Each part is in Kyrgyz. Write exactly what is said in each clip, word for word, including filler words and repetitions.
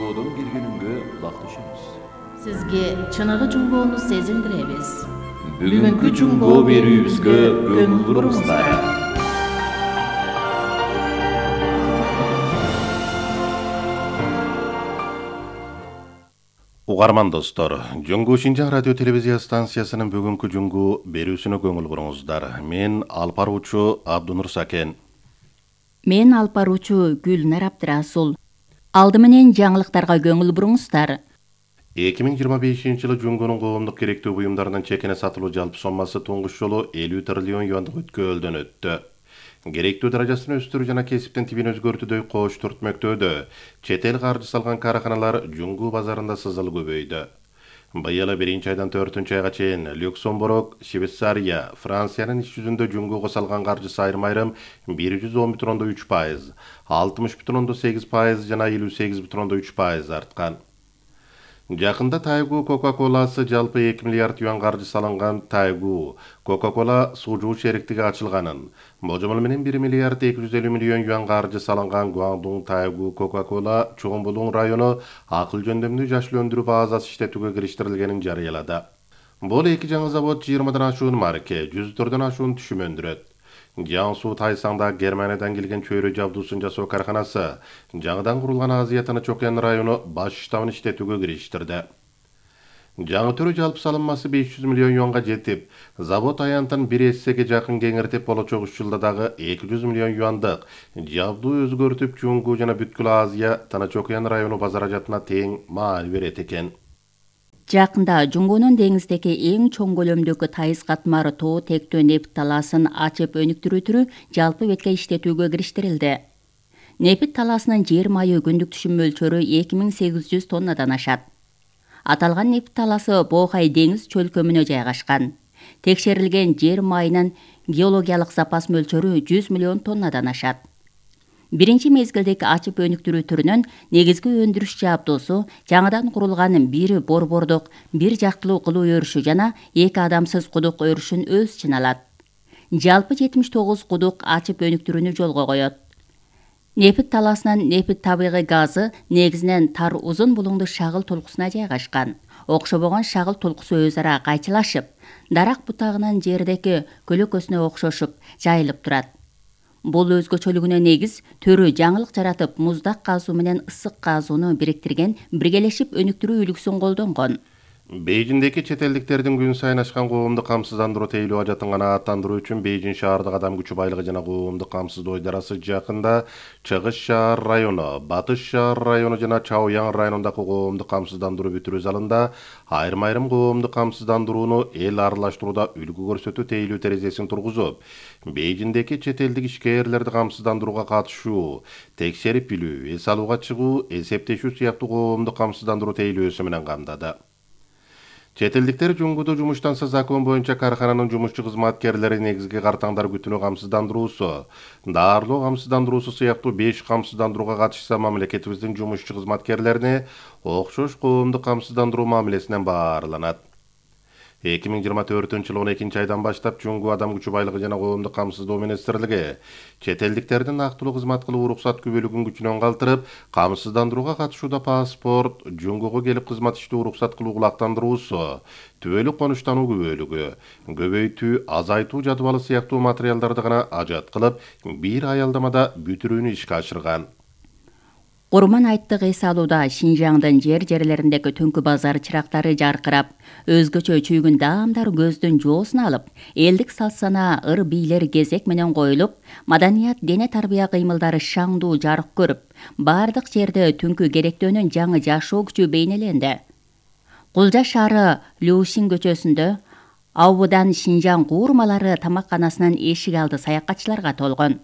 жуңгоодон бир күнүнгө улакташабыз. Сизге чыныгы жуңгоону сезиндиребиз. Бүгүнкү жуңгоо берүүбүзгө көңүл буруңуздар. Угарман достор, Жуңгуу Шинжаң радио телевизия станциясынын бүгүнкү жуңгуу берүүсүнө көңүл буруңуздар. Мен алып баруучу Абдунур Сакен. Мен алып баруучу Гүлнар Абдрасул. Алды менен жаңылыктарга көңүл буруңуздар. эки миң жыйырма бешинчи жылы жуңгунун коомдук керектүү буюмдарынын чекине сатылуу жалпы соммасы туңгуч жолу элүү триллион юандык өткөөлдөн өттү. Керектүү даражасын өстүрүү жана кесиптин тибин өзгөртүүдөй кош түртмөктөөдө чет эл каржы салган каарканалар жуңгуу базарында сызыл көбөйдү. Быйыл биринчи айдан төртүнчү айга чейин Люксембург, Швейцария, Франциянын иш жүзүндө жуңгууга салган каржысы айрым-айрым бир жүз он бүтүн ондон үч пайыз, алтымыш бүтүн ондон сегиз пайыз жана элүү сегиз бүтүн ондон үч пайыз арткан. Жакында Тайгу Кока-Коласы жалпы эки миллиард юан каржы салынган Тайгу Кока-Кола суужуу шериктиги ачылганын, божомол менен бир миллиард эки жүз элүү миллион юан каржы салынган Гуандун Тайгу Кока-Кола Чоңбулуң району акыл жөндөмдүү жашыл өндүрүү базасы иштетүүгө кириштирилгенин жарыялады. Бул эки жаңы завод жыйырмадан ашуун марке, жүздөрдөн ашуун түшүм өндүрөт. Жаңсуу Тайсаңда Германиядан келген чөйрө жабдуусын жасоо карканасы жаңыдан курулган Азия Тынч океан району баш штабын иштетүүгө кириштирди. Жаңы түрү жалпы салынмасы беш жүз миллион юанга жетип, завод аянтын бир эссеге жакын кеңиртип, болочок үч жылда дагы эки жүз миллион юандык жабдуу өзгөртүп, Жуңгуу жана бүткүл Азия Тынч океан району базаражатына тең маал берет экен. Жакында Жуңгуунун деңиздеги эң чоң көлөмдөгү Тайыз катмары тоо тектөө нефт талаасын ачып өнүктүрүү түрү жалпы бетке иштетүүгө кириштирилди. Нефт талаасынын жер майы күндүк түшүм мөлчөрү эки миң сегиз жүз тоннадан ашат. Аталган нефт талаасы Боохай деңиз чөлкөмүнө жайгашкан. Текшерилген жер майынын геологиялык запас мөлчөрү жүз миллион тоннадан ашат. Биринчи мезгилдеги ачып өнүктүрүү түрүнүн негизги өндүрүш жабдуусу жаңыдан курулган бир борбордук бир жактылуу кылуу өрүшү жана эки адамсыз кудук өрүшүн өз ичине алат. Жалпы жетимиш тогуз кудук ачып өнүктүрүүнү жолго коет. Нефт талаасынын нефт табигый газы негизинен тар узун булуңдуу шагыл толкусуна жайгашкан. Окшобогон шагыл толкусу өз ара кайчылашып, дарак бутагынын жердеги көлөкөсүнө окшошуп жайылып турат. Бул өзгөчөлүгүнө негиз төрү жаңылык жаратып, муздак казуу менен ысык казууну бириктирген биргелешип өнүктүрүү үлгүсүн колдонгон. Бейжиңдеги чет элдиктердин күн сайын ашкан коомдук камсыздандыруу тейлөө ажатын канааттандыруу үчүн Бейжиң шаардык адам күчү байлыгы жана коомдук камсыздоо ыйдарасы жакында Чыгыш шаар району, Батыш шаар району жана Чаояң районундагы коомдук камсыздандыруу бүтүрүү залында айрым-айрым коомдук камсыздандырууну эл аралаштырууда үлгү көрсөтүү тейлөө терезесин тургузуп, Бейжиңдеги чет элдик ишкерлерди камсыздандырууга катышуу, текшерип билүү, эс алууга чыгуу, эсептешүү сыяктуу коомдук камсыздандыруу тейлөөсү менен камдады. Чет элдиктер Жуңгууда жумуштанса закон боюнча каркананын жумушчу кызматкерлери негизги картаңдар күтүүнү камсыздандыруусу, дарылоо камсыздандыруусу сыяктуу беш камсыздандырууга катышса, мамлекетибиздин жумушчу кызматкерлерине окшош коомдук камсыздандыруу мамилесинен баарланат. эки миң жыйырма төртүнчү жылы он экинчи айдан баштап Жуңгуу адам күчү байлыгы жана коомдук камсыздоо министрлиги чет элдиктердин актылуу кызмат кылуу уруксат күбөлүгүн күчүнөн калтырып, камсыздандырууга катышууда паспорт, Жуңгууга келип кызмат иштөө уруксат кылуу кулактандыруусу, түбөлүк конуштануу күбөлүгү, көбөйтүү, азайтуу жадыбалы сыяктуу материалдарды гана ажат кылып, бир аялдамада бүтүрүүнү ишке ашырган. Курман айттык эс алууда Шинжаңдын жер-жерлериндеги түнкү базар чырактары жаркырап, өзгөчө чүйгүн даамдар көздүн жоосун алып, элдик салт-санаа, ыр бийлер кезек менен коюлуп, маданият, дене тарбия кыймылдары шаңдуу жарык көрүп, бардык жерде түнкү керектөөнүн жаңы жашоо күчү бейнеленди. Кулжа шаары Люшин көчөсүндө Аубудан Шинжаң куурмалары тамакканасынын эшик алды саякатчыларга толгон.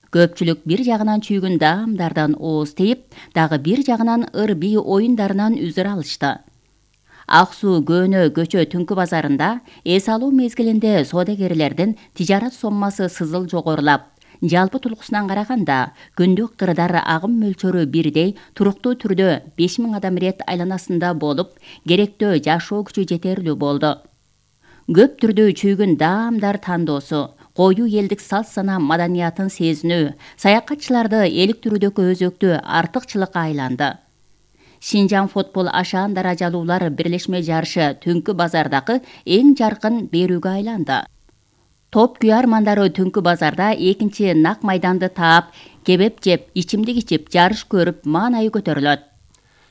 Көпчүлүк бир жагынан чүйгүн даамдардан ооз тийип, дагы бир жагынан ыр бий оюндарынан үзүр алышты. Ак суу Көөнө көчө түнкү базарында эс алуу мезгилинде соодагерлердин тижарат соммасы сызыл жогорулап, жалпы тулкусунан караганда күндүк кырдар агым мөлчөрү бирдей туруктуу түрдө беш миң адам рет айланасында болуп, керектөө жашоо күчү жетерлүү болду. Көп түрдүү чүйгүн даамдар тандоосу, коюу элдик салт-санаа маданиятын сезинүү саякатчыларды элик түрүдөгү өзөктүү артыкчылыкка айланды. Шинжаң футбол ашаан даражалуулар бирлешме жарышы түнкү базардагы эң жаркын берүүгө айланды. Топ күйармандары түнкү базарда экинчи нак майданды таап, кебеп жеп, ичимдик ичип, жарыш көрүп, маанайы көтөрүлөт.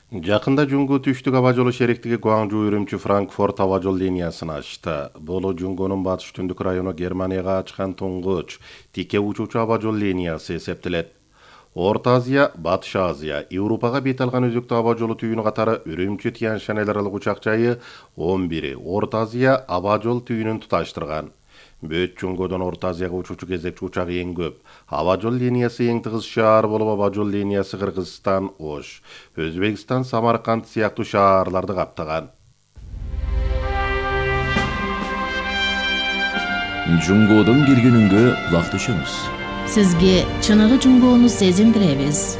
Жакында Жуңго түштүк аба жолу шериктиги Гуаңжу үрүмчү Франкфурт аба жол линиясын ачты. Бул Жуңгонун батыш түндүк району Германияга ачкан туңгуч тике учуучу аба жол линиясы эсептелет. Орто Азия, Батыш Азия, Европага бет алган өзүктүү аба жолу түйүнү катары үрүмчү Тянь-Шань эл аралык учак жайы он бири Орто Азия аба жол түйүнүн туташтырган. Бөт Жуңгодон Орто Азияга учуучу кезекчи учак эң көп. Аба жол линиясы эң тыгыз шаар болуп, аба жол линиясы Кыргызстан, Ош, Өзбекстан, Самарканд сыяктуу шаарларды каптаган. Жуңгодон келгенүнгө кулак түшөңүз. Сизге чыныгы жуңгоону сезиндиребиз.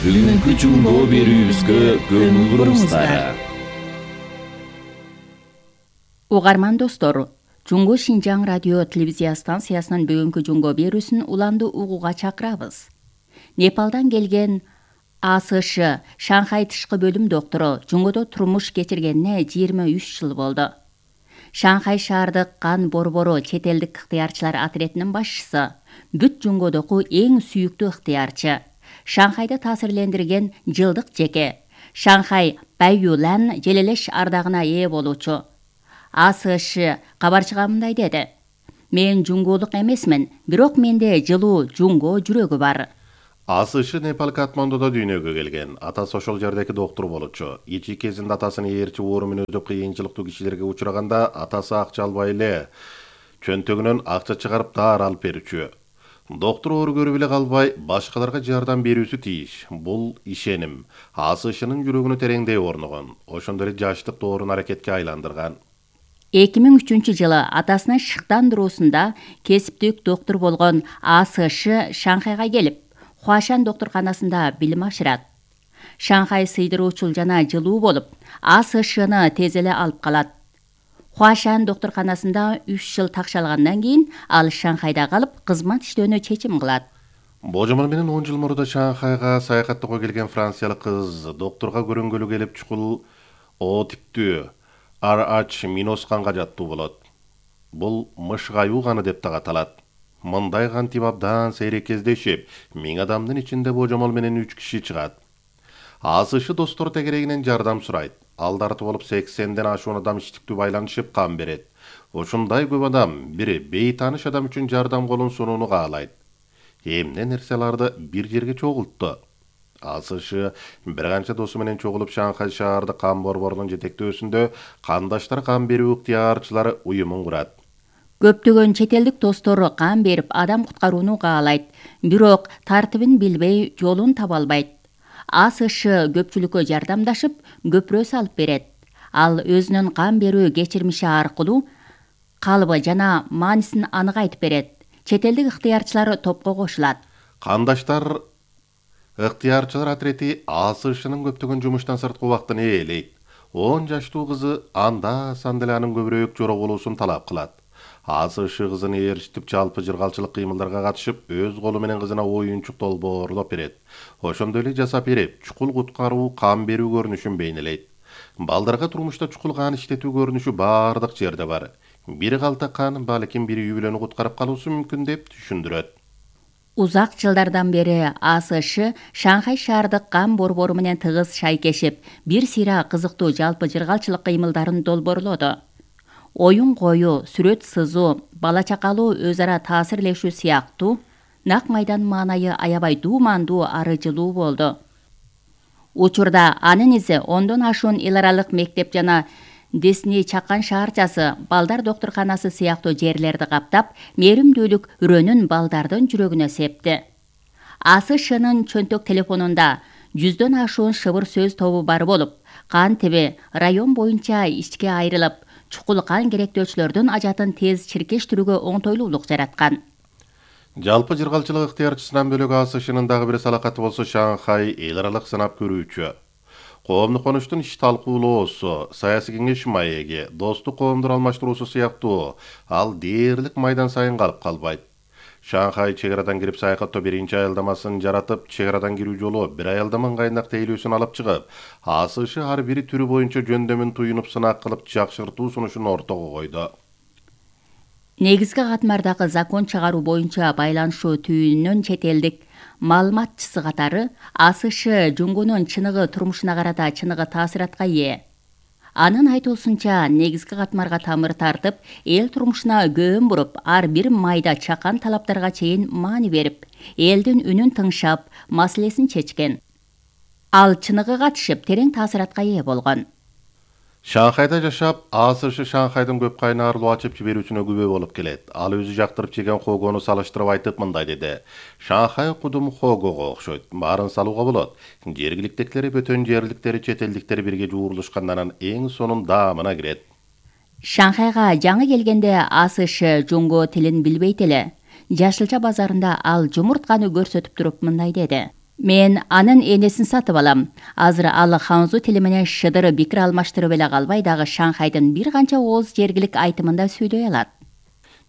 Бүгүнкү жуңго берүүбүзгө көңүл буруңуздар. Угарман достор, Жуңго Шинжаң радио телевизия станциясынын бүгүнкү жуңго берүүсүн уланды угууга чакырабыз. Непалдан келген А С Ш Шанхай тышкы бөлүм доктору жуңгодо турмуш кечиргенине жыйырма үч жыл болду. Шанхай шаардык кан борбору чет элдик ыктыярчылар отрядынын башчысы, бүт жуңгодогу эң сүйүктүү ыктыярчы, Шанхайды таасирлендирген жылдык жеке, Шанхай Бэйюлан желелеш ардагына ээ болуучу А С Ш кабарчыга мындай деди: "Мен жуңголук эмесмин, бирок менде жылуу жуңго жүрөгү бар." А С Ш Непал Катмандуда дүйнөгө келген. Атасы ошол жердеки доктор болчу. Ичи кезинде атасынын ээрчи оору өтүп кыйынчылыктуу кишилерге учураганда атасы акча албай эле чөнтөгүнөн акча чыгарып даар алып берүүчү. Доктор оору көрүп эле калбай, башкаларга жардам берүүсү тийиш. Бул ишеним А С Шнын жүрөгүнө тереңдей орногон. Ошондо эле жаштык доорун аракетке айландырган. эки миң үчүнчү жылы атасынын шыктандыруусунда кесиптик доктор болгон А С Ш Шанхайга келип, Хуашан докторканасында билим ашырат. Шанхай сыйдыруучул жана жылуу болуп, А С Шны тез эле алып калат. Хуашан докторканасында үч жыл такшалгандан кийин ал Шанхайда калып, кызмат иштөөнү чечим кылат. Божомол менен он жыл мурда Шанхайга саякаттоого келген франциялык кыз докторга көрүнгөлү келип чукул О типтүү Р H минус канга жаттуу болот. Бул мышгаюу каны деп так аталат. Мындай кан тип абдан сейрек кездешип, миң адамдын ичинде божомол менен үч киши чыгат. А С Ш достор тегерегинен жардам сурайт. Ал дарты болуп сексенден ашуун адам иштиктүү байланышып кан берет. Ушундай көп адам бири бейтааныш адам үчүн жардам колун сунууну каалайт. Эмне нерселерди бир жерге чогултту. А С Ш бир канча досу менен чогулуп Шанхай шаардык кан борборунун жетектөөсүндө Кандаштар кан берүү ыктыярчылары уюмун курат. Көптөгөн чет элдик достор кан берип адам куткарууну каалайт, бирок тартибин билбей жолун таба албайт. А С Ш көпчүлүккө жардамдашып, көпүрө салып берет. Ал өзүнүн кан берүү кечирмиши аркылуу калыбы жана маанисин анык айтып берет. Чет элдик ыктыярчылар топко кошулат. Кандаштар ыктыярчылар отрети А С Шнын көптөгөн жумуштан сырткы убактын ээлейт. он жаштуу кызы анда санда эле анын көбүрөөк жора болуусун талап кылат. А С Ш кызын ээрчитип жалпы жыргалчылык кыймылдарга катышып, өз колу менен кызына оюнчук долбоорлоп берет. Ошондой эле жасап берип, чукул куткаруу, кан берүү көрүнүшүн бейнелейт. Балдарга турмушта чукул кан иштетүү көрүнүшү бардык жерде бар. Бири калта кан, балким бири үй бүлөнү куткарып калуусу мүмкүн деп түшүндүрөт. Узак жылдардан бери А С Ш Шанхай шаардык кан борбору менен тыгыз шайкешип, бир сыйра кызыктуу жалпы жыргалчылык кыймылдарын долбоорлоду. Оюн коюу, сүрөт сызуу, бала чакалуу өз ара таасирлешүү сыяктуу нак майдан маанайы аябай дуумандуу ары жылуу болду. Учурда анын изи ондон ашуун эл аралык мектеп жана Десни чакан шаарчасы, балдар докторканасы сыяктуу жерлерди каптап, мээримдүүлүк үрөнүн балдардын жүрөгүнө септи. А С Шнын чөнтөк телефонунда жүздөн ашуун шыбыр сөз тобу бар болуп, кан тиби район боюнча ичке айрылып, чукул кан керектөөчүлөрдүн ажатын тез чиркештирүүгө оңтойлуулук жараткан. Жалпы жыргалчылык ыктыярчысынан бөлөк А С Шнын дагы бир салакаты болсо Шанхай эл аралык сынап көрүүчү. Коомдук конуштун иш талкуулоосу, саясий кеңеш маеги, достук коомдор алмаштыруусу сыяктуу ал дээрлик майдан сайын калып калбайт. Шанхай чек арадан кирип саякаттоо биринчи аялдамасын жаратып, чек арадан кирүү жолу бир аялдаманын кайындак тейлөөсүн алып чыгып, АСШ ар бир түрү боюнча жөндөмүн туюнуп сынак кылып жакшыртуу сунушун ортого койду. Негизги катмардагы закон чыгаруу боюнча байланышуу түйүнүнүн чет элдик маалыматчысы катары АСШ Жунгонун чыныгы турмушуна карата чыныгы таасиратка ээ. Анын айтуусунча, негизги катмарга тамыр тартып, эл турмушуна көөн буруп, ар бир майда чакан талаптарга чейин маани берип, элдин үнүн тыңшап, маселесин чечкен. Ал чыныгы катышып, терең таасиратка ээ болгон. Шанхайда жашап, АСШ Шанхайдын көп кайнарлуу ачып жиберүүсүнө күбө болуп келет. Ал өзү жактырып жеген хогону салыштырып айтып мындай деди. Шанхай кудум хогого окшойт. Баарын салууга болот. Жергиликтекилери бөтөн жерликтери, чет элдиктери бирге жуурулушкандан эң сонун даамына кирет. Шанхайга жаңы келгенде АСШ жунго тилин билбейт эле. Жашылча базарында ал жумуртканы көрсөтүп туруп мындай деди. Мен анын энесин сатып алам. Азыр ал ханзу тили менен шыдыр пикир алмаштырып эле калбай дагы Шанхайдын бир канча ооз жергилик айтымында сүйлөй алат.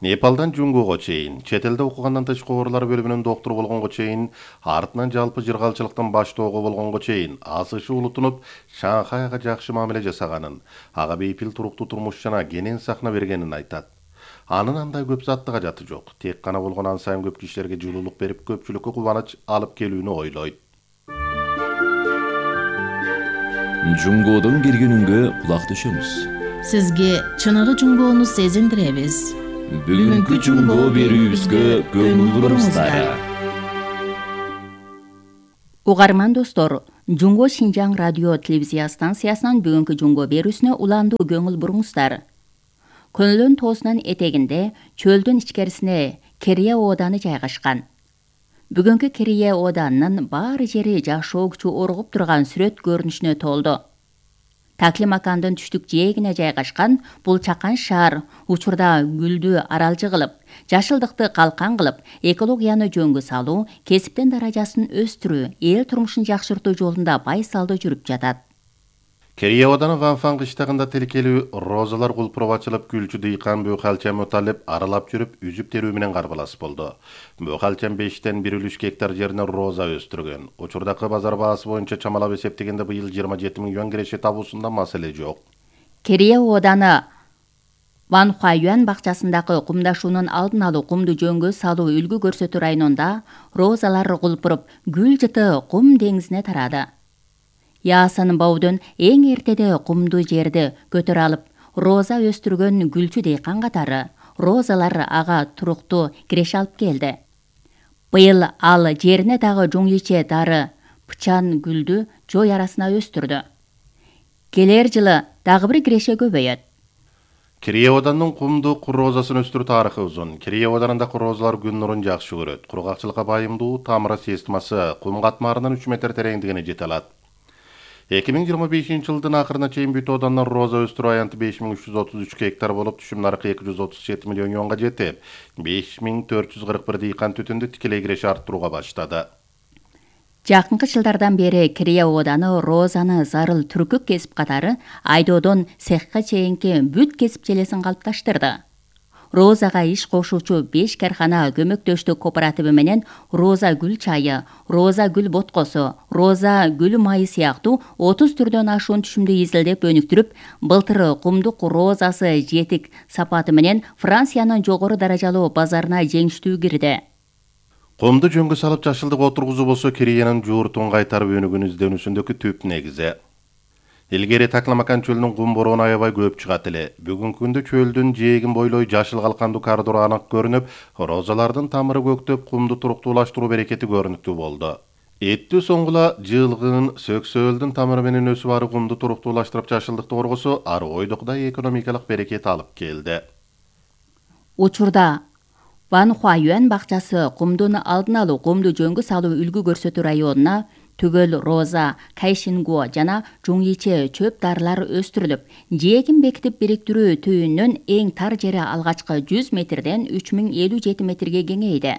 Непалдан Жунгого чейин, чет элде окугандан тышкы оорулар бөлүмүнүн доктуру болгонго чейин, артынан жалпы жыргалчылыктын баштоого болгонго чейин АСШ улутунуп Шанхайга жакшы мамиле жасаганын, ага бейпил туруктуу турмуш жана кенен сахна бергенин айтат. Анын андай көп заттыга жаты жок. Тек гана болгон ан сайын көп кишилерге жылуулук берип, көпчүлүккө кубаныч алып келүүнү ойлойт. Жунгодун киргенүнгө кулак түшөмүз. Сизге чыныгы жунгоону сезиндиребиз. Бүгүнкү жунго берүүбүзгө көңүл буруңуздар. Угарман достор, Жунго Шинжаң радио телевизия станциясынан бүгүнкү жунго берүүсүнө уландуу көңүл буруңуздар. Көнлөн тоосунун этегинде чөлдүн ичкерисине Керия ооданы жайгашкан. Бүгүнкү Керия ооданынын баары жери жашоо күчү оргуп турган сүрөт көрүнүшүнө толду. Таклимакандын түштүк жээгине жайгашкан бул чакан шаар учурда гүлдү аралжы кылып, жашылдыкты калкан кылып, экологияны жөнгө салуу, кесиптин даражасын өстүрүү, эл турмушун жакшыртуу жолунда байсалдуу жүрүп жатат. Керия ооданы Ванфан кыштагында тилкелүү розалар кулпуруп ачылып, гүлчү дыйкан Бөкалчам Муталип аралап жүрүп, үзүп терүү менен карбалас болду. Бөкалчам бештен бир үлүш гектар жерине роза өстүргөн. Учурдагы базар баасы боюнча чамалап эсептегенде быйыл жыйырма жети миң юан киреше табуусунда маселе жок. Керия ооданы Ванхуаюан бакчасындагы кумдашуунун алдын алуу, кумду жөнгө салуу, үлгү көрсөтүү районунда розалар кулпуруп, гүл жыты кум деңизине тарады. Яасан Баудун эң эртеде кумду жерди көтөрө алып, роза өстүргөн гүлчү дыйкан катары розалар ага туруктуу киреше алып келди. Быйыл ал жерине дагы жуңиче дары пычан гүлдү жой арасына өстүрдү. Келер жылы дагы бир киреше көбөйөт. Керия ооданын кумдук розасын өстүрүү тарыхы узун. Керия оодарында розалар күн нурун жакшы көрөт. Кургакчылыкка байымдуу тамыра системасы кум катмарынан үч метр тереңдигине жете алат. эки миң жыйырма бешинчи жылдын акырына чейин бүт оодандын роза өстүрүү аянты беш миң үч жүз отуз үч гектар болуп, түшүм наркы эки жүз отуз жети миллион юанга жетип, беш миң төрт жүз кырк бир дыйкан түтүндү тикелей киреше арттырууга баштады. Жакынкы жылдардан бери Керия ооданы розаны зарыл түркүк кесип катары айдоодон цехка чейинки бүт кесип желесин калыпташтырды. Розага иш кошуучу беш кархана көмөктөштүк кооперативи менен роза гүл чайы, роза гүл боткосу, роза гүл майы сыяктуу отуз түрдөн ашуун түшүмдү изилдеп өнүктүрүп, былтыр кумдук розасы жетик сапаты менен Франциянын жогору даражалуу базарына жеңиштүү кирди. Кумду жөнгө салып жашылдык отургузуу болсо Кериянын жууртун кайтарып өнүгүүнү изденүүсүндөгү түп негизи. Илгери Такламакан чөлүнүн кум бороону аябай көп чыгат эле. Бүгүнкү күндө чөлдүн жээгин бойлой жашыл калкандуу коридор анык көрүнүп, розалардын тамыры көктөп, кумду туруктуулаштыруу берекети көрүнүктүү болду. Эттүү соңгула жылгын сөксөөлдүн тамыры менен өсүп ары кумду туруктуулаштырып жашылдыкты коргосо, ары ойдокудай экономикалык берекет алып келди. Учурда Ванхуаюан бакчасы кумдун алдын алуу, кумду жөнгө салуу үлгү көрсөтүү районуна түгөл роза, кайшингуо жана жуңиче чөп дарылар өстүрүлүп, жээгин бекитип бириктирүү түйүнүнүн эң тар жери алгачкы жүз метрден үч миң элүү жети метрге кеңейди.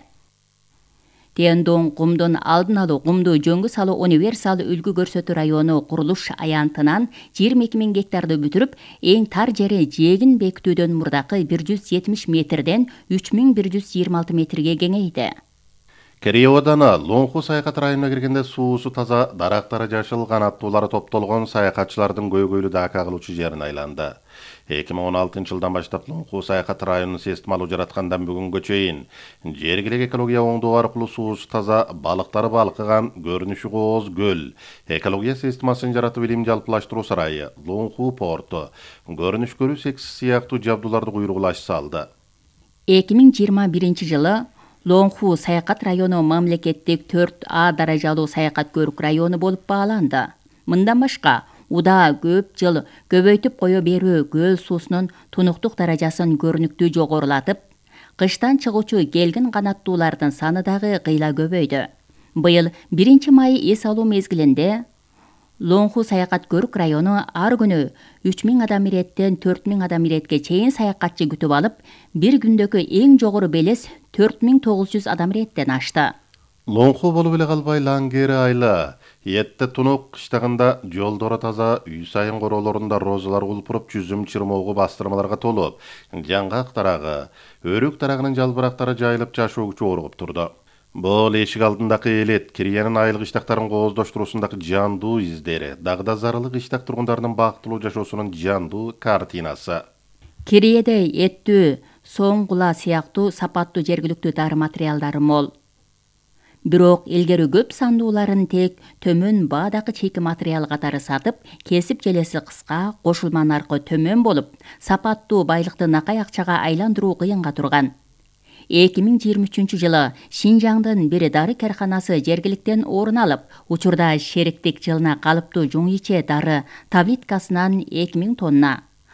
Тендон кумдун алдын алуу кумду жөнгө салуу универсал үлгү көрсөтүү району курулуш аянтынан жыйырма эки миң гектарды бүтүрүп, эң тар жери жээгин бекитүүдөн мурдакы бир жүз жетимиш метрден үч миң бир жүз жыйырма алты метрге кеңейди. Кереевадана Лоңху саякат районуна киргенде суусу таза, дарактары жашыл, канаттуулары топтолгон саякатчылардын көйгөйлүү дака кылуучу жерине айланды. эки миң он алтынчы жылдан баштап Лоңху саякат районунун системалуу жараткандан бүгүнгө чейин жергилик экология оңдоо аркылуу суусу таза, балыктары балкыган, көрүнүшү кооз көл, экология системасын жаратып илим жалпылаштыруу сарайы, Лоңху порту, көрүнүш көрүү секси сыяктуу жабдууларды куйругулаш салды. эки миң жыйырма биринчи жылы Лоңху саякат району мамлекеттик төрт А даражалуу саякат көрүк району болуп бааланды. Мындан башка удаа көп жыл көбөйтүп кое берүү көл суусунун тунуктук даражасын көрүнүктүү жогорулатып, кыштан чыгуучу келгин канаттуулардын саны дагы кыйла көбөйдү. Быйыл биринчи май эс алуу мезгилинде Лоңху саякат көрүк району ар күнү үч миң адам иреттен төрт миң адам иретке чейин саякатчы күтүп алып, бир күндөгү эң жогору белес төрт миң тогуз жүз адам иреттен ашты. Лоңху болуп эле калбай Лангери айла, Етте тунук кыштагында жолдору таза, үй сайын короолорунда розалар кулпуруп, жүзүм чырмоого бастырмаларга толуп, жаңгак дарагы, өрүк дарагынын жалбырактары жайылып жашоо күчү оргуп турду. Бул эшик алдындагы элет, Кириянын айыл кыштактарын кооздоштуруусундагы жандуу издери, дагы да зарылы кыштак тургундарынын бактылуу жашоосунун жандуу картинасы. Кирияде эттүү, соң кула сыяктуу сапаттуу жергиликтүү дары материалдары мол. Бирок илгери көп сандууларын тек төмөн баадагы чейки материал катары сатып, кесип желеси кыска, кошулма наркы төмөн болуп, сапаттуу байлыкты накай акчага айландыруу кыйынга турган. эки миң жыйырма үчүнчү жылы Шинжаңдын бир дары карканасы жергиликтен орун алып, учурда шериктик жылына калыптуу жуң иче дары таблеткасынан эки миң тонна,